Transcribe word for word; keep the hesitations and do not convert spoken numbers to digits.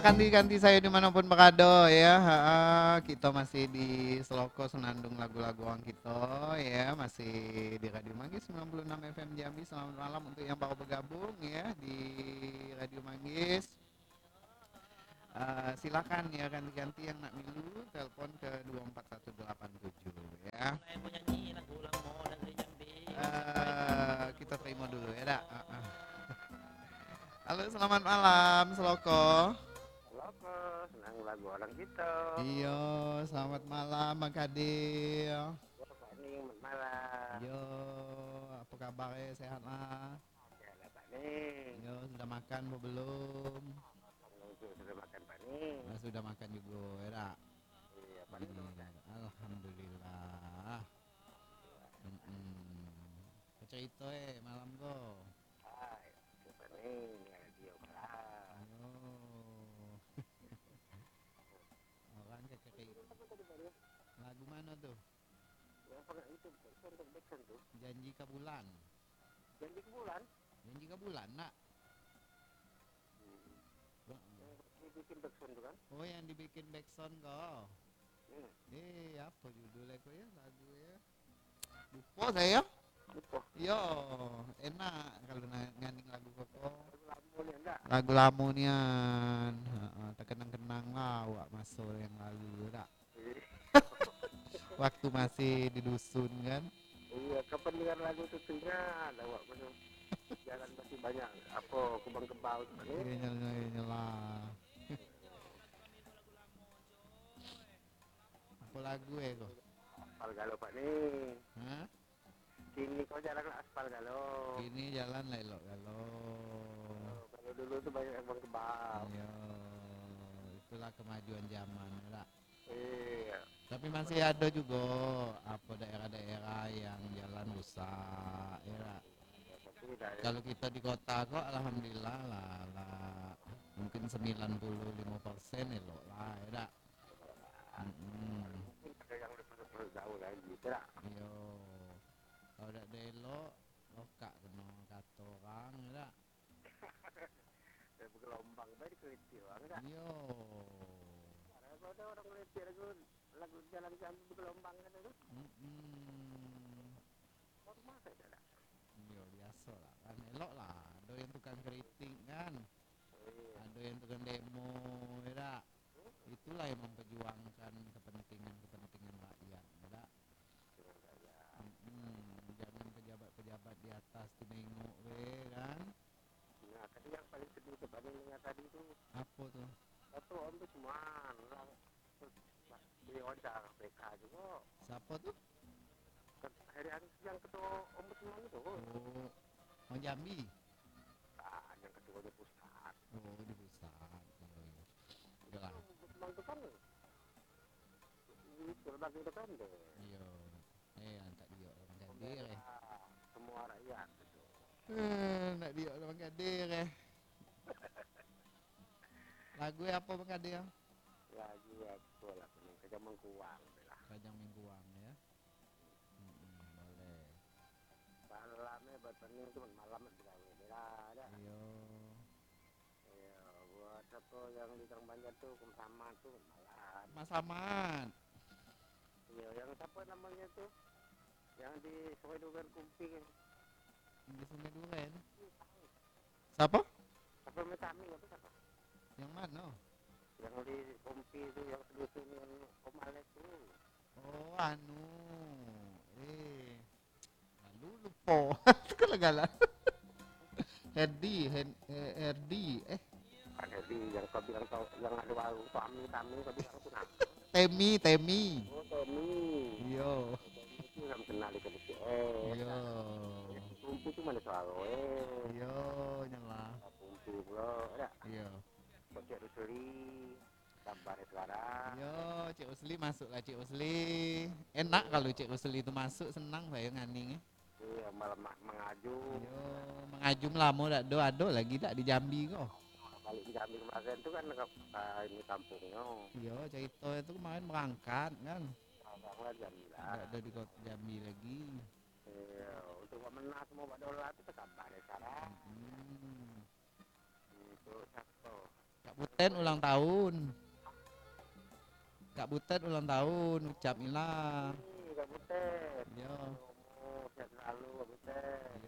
Kanti-kanti sayo dimanapun barado, ya. Ha, kito masih di Seloko Senandung Lagu-Lagu Urang Kito, ya. Masih di Radio Manggis sembilan puluh enam F M Jambi. Selamat malam untuk yang baru bergabung, ya, di Radio Manggis. Eh, silakan, ya, kanti-kanti yang nak milu, telepon ke dua empat satu delapan tujuh, ya. Mulai mau nyanyi lagu lamo dari Jambi. Eh, kita terima dulu, ya, dak? Ah, ah. Halo, selamat malam, Seloko. Seloko, senang lagu orang kita. Iyo, selamat malam, Bang Kadir. Yo, Pak Ning, selamat malam. Yo, apa kabar, eh? Sehat lah? Sehat lah, Pak Ning. Yo, sudah makan apa belum? Belum, sudah makan, Pak Ning. Ah, sudah makan juga, ya dak? Iya, Pak Ning, sudah makan. Alhamdulillah. Mm-mm. Apa cerita, eh, malam ko? Hai, siapa ni? Ni radio malam. Yo. Orang kecekik. Lagu mana tu? Yang pernah itu, backsound tu, backsound tu. Janji Kabulan. Janji Kabulan? Janji Kabulan, nak? Hmm. Heeh. Yang dibikin backsound tu kan? Oh, yang dibikin backsound ko. Hmm. Eh, apa judul lagu ya? Lagu ya? Lupa saya. Lupa. Yo, enak kalau na-, nganing lagu koko. Lagu lamo nian, ndak? Lagu lamo nian. Heeh, terkenang-kenang lah awak maso yang lalu, ndak? Iya. Waktu masih di dusun, kan? Iya, kapan dengar lagu tu teringat awak tu. Jalan masih banyak, apa, kubang kebau tu, kan? Iya, nyalah, iya, nyalah. Apa lagu, eh, ko? Aspal galo, Pak, ni. Hah? Kini ko jalan lah aspal galo. Kini jalan lah elok galo. Oh, kalau dulu tu banyak yang bang kebal. Iyo, itulah kemajuan zaman, yo dak? Iya. Tapi masih ada juga, apa, daerah-daerah yang jalan rusak, yo dak? Tapi dah, ya. Kalau kita di kota ko, alhamdulillah lah, lah mungkin sembilan puluh lima persen elok lah, yo dak? Mm-mm. Mungkin ada yang lebih, lebih jauh lagi, yo dak? Iyo. Kalau dak ada elok, lokak kena kato orang, yo dak? Dah bergelombang bae dikritik orang, dak? Iyo. Kalau ada orang kritik lagu, lagu jalan kami bergelombang kan tu. Mm-mm. Normal saja, dak? Iyo, biaso lah kan. Elok lah, ado yang tukang kritik kan. Iya. Ado yang tukang demo, yo dak? Itulah yang memperjuangkan kepentingan-kepentingan rakyat, yo dak? Betul, Kak, ya. Mm-mm. Jangan pejabat-pejabat di atas tu nengok be, kan? Nah, tadi yang paling sedih tu, paling dengar tadi tu. Apa tu? Satu ombudsman, lah, lah, di wawancara K P K juga. Siapa tu? Ket-, Heri Anis yang ketua ombudsman itu. Oh, orang Jambi? Ah, yang ketuanya pusat. Oh, di pusat. Iyo, iyo. Iyolah. Itu, Bang, itu kan, itu kan deh. Iyo. Eh, antak diok lah Bang Kadir, eh. Pembela semua rakyat itu. Eh, antak diok lah Bang Kadir, eh. Lagu apa, Bang Kadir? Lagu apa lah, Kajang Mengkuang lah. Kajang Mengkuang, yo. Mm-mm, boleh. Malam ni buat pening tu, malam ni begawe lah, dak? Iyo. Iyo, buat siapa yang di Gang Banjar tu, Mas Ahmad tu, malam. Mas Ahmad. Iyo, yang siapa namanya tu? Yang di Sungai Duren Kumping. Yang di Sungai Duren? Siapa? Siapa, Metami apa siapa? Yang mana? Yang di Kompi tu, yang sedusun, yang Om Alex tu. Oh, anu. Eh. Lalu lupo. Itu kan lah galak. Herdi, Hen-, eh, Herdi, eh. Kan Herdi yang kau bilang kau, yang ada warung tu, Ami, Tami, kau bilang tu nah. Temi, Temi. Oh, Temi. Iyo. Temi tu yang kenal di K B C S. Iyo. Yang Kumpi tu mana suara, eh? Iyo, nyalah. Kumpi pula, dak? Iyo. Kocek Rusli. Sabar, ya, sekarang. Yo, Cik Usli, masuklah, Cik Usli. Enak kalau Cik Usli tu masuk, senang sayo nganing, eh. Iyo, malah ma-, mangajum. Yo, mangajum lamo dak do, ado lagi dak di Jambi ko? Balik di Jambi kemarin tu kan, ka, ka ini kampungnyo. Yo, carito tu kemarin berangkat kan. Abang lah Jambi lah. Dak ado di kota Jambi lagi. Iyo, untuk buat menang semua buat dolar tu sabar, ya, sekarang. Hmm. Untuk siapa? Kak Buten ulang tahun. Kak Buten ulang tahun, ucap ilah. Ih, Kak Buten. Yo. Umur sehat selalu, Kak Buten.